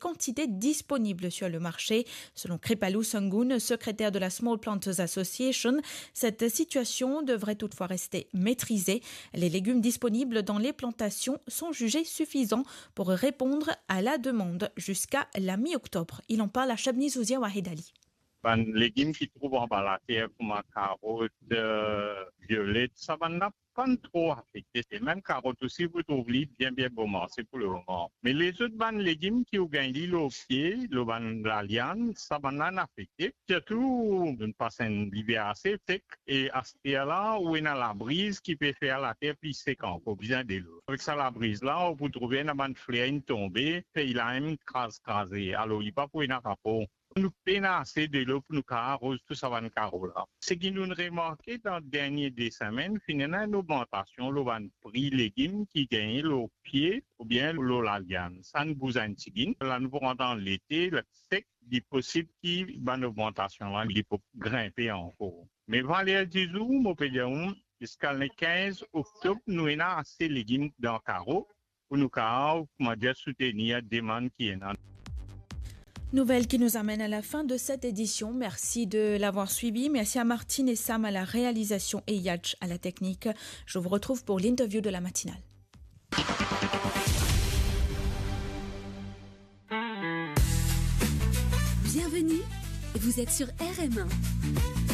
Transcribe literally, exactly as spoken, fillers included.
quantité disponible sur le marché. Selon Kripalli Sangoon, secrétaire de la Small Planters Association, cette situation devrait toutefois rester maîtrisée. Les légumes disponibles dans les plantations sont jugés suffisants pour répondre à la demande jusqu'à la mi-octobre. Il en parle à Shabni Zouzia Wahed Ali. Bann legim ki trouv anba later kouma karot, eh, violet, sa bann la pann tro afekte. E mem karot osi, pou trouv li bien, bien bon marse pou lemoman. Me lezot bann legim ki ou gagn li lor pie, lor bann laliann, sa bann la inn afekte. Sirtou, nou pas enn liver ase sek, e aster la, ou ena labriz ki pe fer later pli sek ankor, bizin delo. Avek sa labriz la, ou pou trouve ena bann fler inn tonbe, fey la inn kraz, kraze. Alor, li pa pou ena rapor. Nou pena ase delo pou nou kapav aroz tou sa bann karo la. Seki nou'nn remarke dan dernie de semenn, finn ena enn ogmantasion lor bann pri legim ki gagne lor pie oubien lor laliann. Sa inn bouz enn tigit. La nou pou rant dan lete, la sek, li posib ki bann ogmantasion la, li pou grinpe ankor. Me valer dizour, mo pe dir ou, ziska le kinz oktob, nou ena ase legim dan karo pou nou kapav, kouma dir, soutenir demann ki ena. Nouvelle qui nous amène à la fin de cette édition. Merci de l'avoir suivi. Merci à Martine et Sam à la réalisation et Yatch à la technique. Je vous retrouve pour l'interview de la matinale. Bienvenue, vous êtes sur R M un.